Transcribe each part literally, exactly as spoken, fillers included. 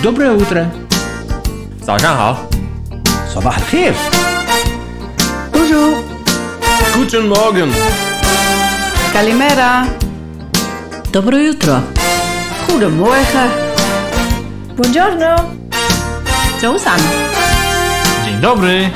Доброе утро. 早上好。 صباح الخير. Bonjour. Guten Morgen. Καλημέρα. Dobro jutro. Goedemorgen. Buongiorno. 早晨. Dzień dobry.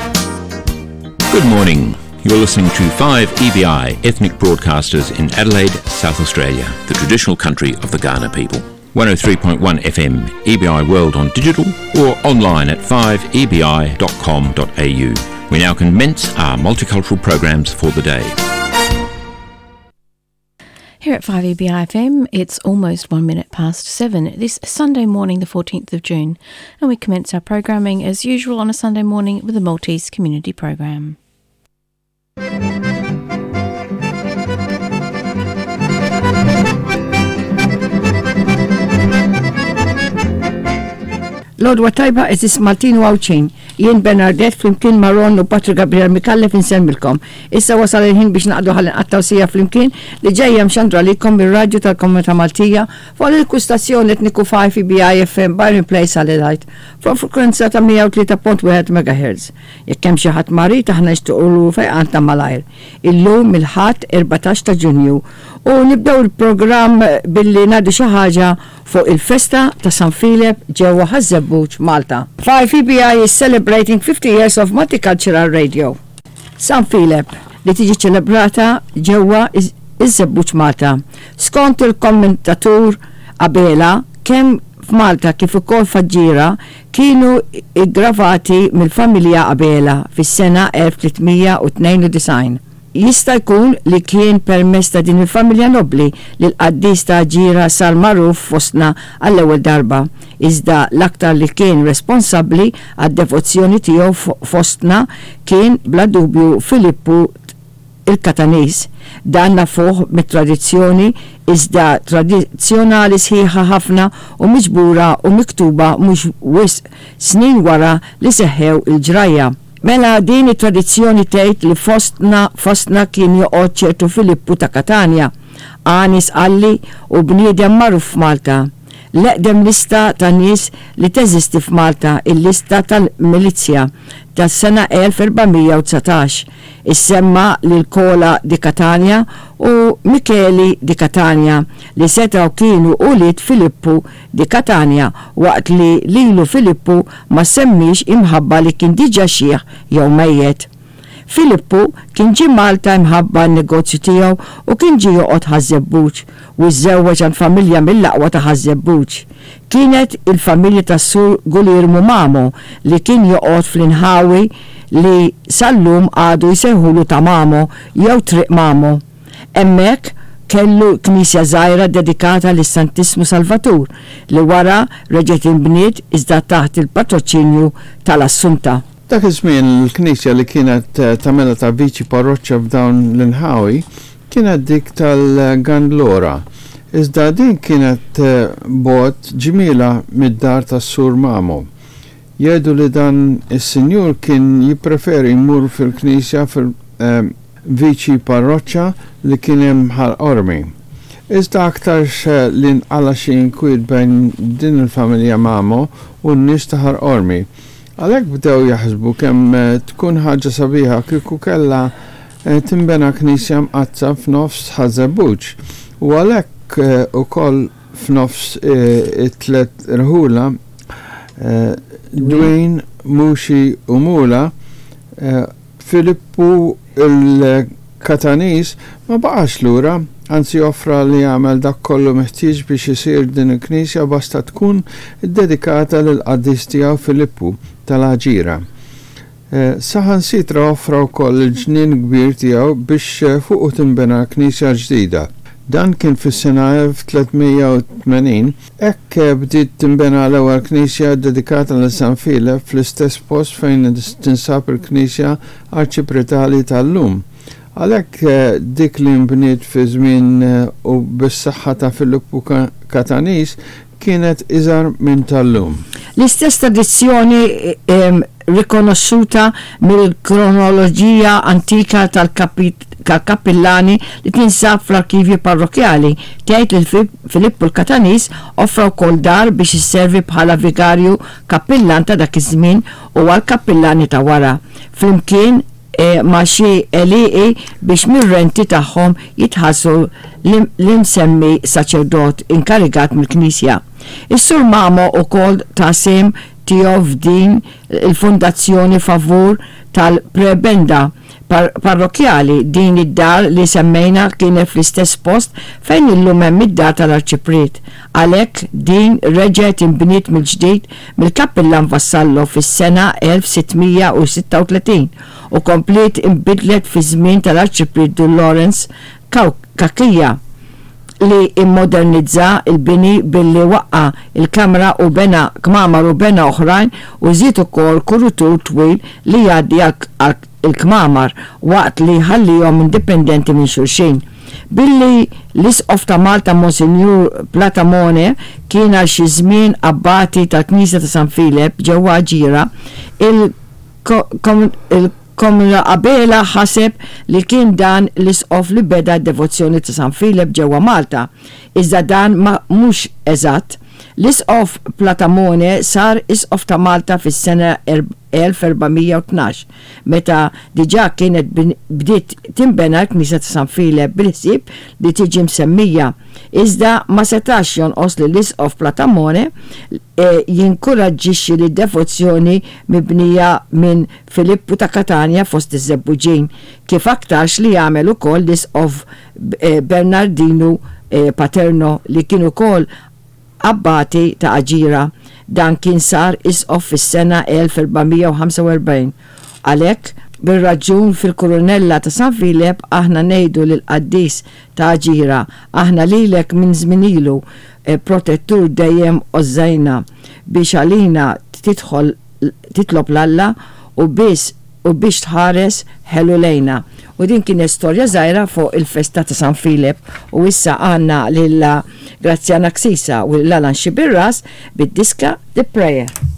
Good morning. You're listening to five E B I Ethnic Broadcasters in Adelaide, South Australia, the traditional country of the Kaurna people. one oh three point one F M, E B I World on digital or online at five E B I dot com dot A U. We now commence our multicultural programs for the day. Here at five E B I F M, it's almost one minute past seven this Sunday morning, the fourteenth of June, and we commence our programming as usual on a Sunday morning with the Maltese Community Program. L-għodwa t-tajba, għeżież Maltin u Għawdxin. Jien Bernadette flimkien ma' Ron u Patrick Gabriel Mikallef insellmilkom. Issa wasal il-ħin biex naqdu ħalli nqattgħu siegħa flimkien li ġejja mxandra lilkom mir-radju tal-Komunità Maltija fuq il-kustazzjoni etniku five E B I F M Byron Place, Adelaide, fuq frekwenza ta' mija u tlieta punt wieħed M H. Jekk hemm xi ħadd marid, aħna nixtiequlu fejqan ta' malajr. Illum il-Ħadd erbatax ta' Ġunju u nibdew il-programm billi ngħidu xi ħaġa fuq il-festa ta' San Filep ġewwa Ħaż-Żebbuġ, Malta. five E B I is celebrating fifty years of multicultural radio. San Filep li tiġi ċelebrata ġewwa iż-Żebbuġ, Malta. Skont il-kommentatur Abela, kemm f'Malta kif ukoll f'Aġġira kienu iggravati mill-familja Abela fis-sena elf tliet mija u tnejn u disgħin. Jista' jkun li kien permezz ta' din il-familja nobli li l-qaddis ta' Aġġira sar magħruf fostna għall-ewwel darba. Iżda l-aktar li kien responsabbli għad-devozzjoni tiegħu fostna kien bla dubju Filippu il-Katanis. Dan nafuh mit-tradizzjoni, iżda tradizzjonali sħiħa ħafna u miġbura u miktuba mhux wisq snin wara li seħħew il-ġrajja. Mela din it-tradizzjoni tgħid li fostna fostna kien joqgħod ċertu Filippu ta' Katania, għani Sqalli u bniedem magħruf f'Malta. L-eqdem lista ta' nies li teżisti f'Malta, il-lista tal-Milizja tas-sena elf erba' mija u dsatax, issemma lil Kola di Catania u Micheli di Catania li setaw kienu ulied Filippu di Catania, waqt li lilu Filippu ma semmix imħabba li kien diġa xiħ jew mejjet. Filippu kien ġie Malta imħabba n-negozju tiegħu u kien ġie joqgħod Ħaż-Żebbuġ u żżewweġ għand familja mill-aqwa ta' Ħaż-Żebbuġ. Kienet il-familja tas-Sur Gulirmu Mamo li kien joqgħod fl-inħawi li sal-lum għadu jsejħulu ta' Mamo jew Triq Mamo. Hemmhekk kellu knisja żgħira dedikata lis-Santissmu Salvatur li wara reġgħet inbniet iżda taħt il-patroċinju tal-Assunta. Dak iż-żmien il-knisja li kienet eh, tagħmilha ta' viċi parroċċa f'dawn l-inħawi kienet dik tal-Gandlora. Iżda din kienet eh, bogħod ġmielha mid-dar tas-Sur Mamo. Jgħidu li dan is-sinjur kien jippreferi jmur fil-knisja fil-viċi parroċċa li kien hemm Ħal Qormi. Iżda aktarx li nqala xi inkwiet bejn din il-familja Mamo u n-nies ta' Ħal Qormi. Għalhekk bdew jaħsbu kemm eh, tkun ħaġa sabiħa kieku kellha eh, timbena knisja mqaddsa f'nofs Ħaż-Żebbuġ. U għalhekk eh, ukoll f'nofs it-tlet irħula, Dwin, Muxi u Mula, Filippu il-Katanis ma baqax lura, anzi offra li jagħmel dak kollu meħtieġ biex isir din il-knisja basta tkun dedikata lil qaddis tiegħu Filippu tal-Aġira. Eh, Saħansitra offra wkoll il-ġnien kbir tiegħu biex eh, fuqu timbena knisja ġdida. Dan kien fis-sena elf tliet mija u tmenin, hekk bdiet timbena l-ewwel knisja dedikata lil San Filep fl-istess post fejn tinsab il-knisja arċipretali tal-lum. Għalhekk eh, dik li nbniet fi żmien eh, u bis-saħħa ta' Filippu Katanis kienet iżgħar minn tal-lum. L-istess tradizzjoni em, rikonoxxuta mill-kronoloġija antika tal-kappillani li tinsab fl-arkivju parrokjali. Tgħid li Filippu l-Katanis offra wkoll dar biex isservi bħala vigarju kappillan ta' dak iż-żmien u għal kappillani ta' wara. Flimkien e, ma' xi għelieqi biex mir-renti tagħhom jitħallsu l-imsemmi saċerdot inkarigat mill-Knisja. Is-Sur Mamo ukoll ta sehem tiegħu f'din il-fondazzjoni favur tal-prebenda parrokjali. Din id-dar li semmejna kienet fl-istess post fejn illum hemm id-dar tal-Arċipriet. Għalhekk din reġgħet inbniet mill-ġdid mill-Kappillan Vassallo fis-sena elf sittmija u sitta u tletin u kompliet inbidlet fi żmien tal-Arċipriet Dun Lawrence Cachia li immodernizza il-bini billi waqqa il-kamra u bena kmamar u bena oħrajn u żied ukoll kurutur twil li jgħaddi għal il-kmamar waqt li ħallihom indipendenti minn xulxin. Billi l-Isqof ta' Malta Monsignor Platamone kien għal xi żmien abbati tal-Knisja ta' San Filep ġewwa Aġira, il-Komla Abela ħaseb li kien dan l-isqof li beda d-devozzjoni ta' San Filep ġewwa Malta. Iżda dan ma mhux eżatt. L-Isqof Platamone sar Isqof ta' Malta fis-sena elf erbamija u tnax, meta diġà kienet bdiet tinbena l-Knisja ta' San Filep bil-ħsieb li tiġi msemmija. Iżda ma setax jonqos li l-Isqof Platamone, eh, jinkoraġġixxi li d-devozzjoni mibnija minn Filippu ta' Katanja fost iż-Żebbuġin, kif aktarx li jagħmel ukoll l-Isqof, eh, Bernardinu, eh, Paterno li kien ukoll abbati ta' Aġira. Dan kien sar isqof fis-sena elf erbamija u ħamsa u erbgħin. Għalhekk, bir-raġun fil-Kurunella ta' San Filep aħna ngħidu lil qaddis ta' Aġira, aħna lilek minn żmien ilu, eh, protettur dejjem ożżajna biex għalina tidħol titlob l-Alla u biss u biex tħares ħelu lejna. U din kienet storja żgħira fuq il-festa ta' San Filep. U issa għandna lil Graziana Ksisa u lil Alan Sciberras bid-diska The Prayer.